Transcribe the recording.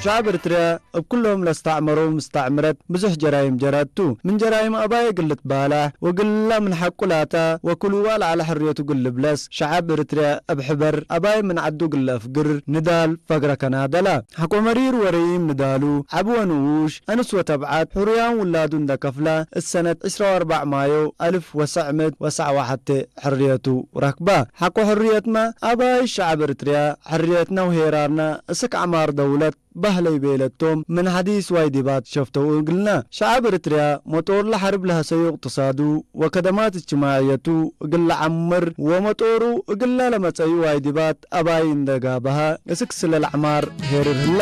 ሻዕብ እርትርያ እብ ኩሎም ለስተዕመሮ ምስተዕምረት ብዙሕ ጀራይም ጀረቱ። ምን ጀራይም ኣባየ ግልት ባላሕ ወግላ ምን ሓቁላታ ወክሉዋ ለዓለ ሕርየቱ ግልብለስ ሻዕብ እርትርያ እብ ሕበር ኣባየ ምን ዓዱ ግለ እፍግር ንዳል ፈግረ ከናደላ። ሓቆ መሪር ወረይም ንዳሉ ዓቢ ወንኡሽ ኣንስ ወተብዓት ሕሩያን ውላዱ እንደከፍላ እሰነት ዕስራ ወኣርባዕ ማዮ ኣልፍ ወሰዕ ምእት ወሰዕ ወሓተ ሕርየቱ ረክባ። ሓቆ ሕርየትማ ኣባይ ሻዕብ እርትርያ ሕርየትና ውሄራርና እስክ ዓማር ደውለት ባህለይ ቤለቶም ምን ሓዲስ ዋይ ዲባት ሸፍተው እግልና። ሻዕብ እርትርያ መጦር ለሐርብ ለሐሰዩ እቅትሳዱ ወከደማት እጅትማዕየቱ እግል ለዓምር ወመጦሩ እግላ ለመጸዩ ዋይ ዲባት ኣባይ እንደጋበሃ እስክ ስለ ለዕማር ሄርር ህላ።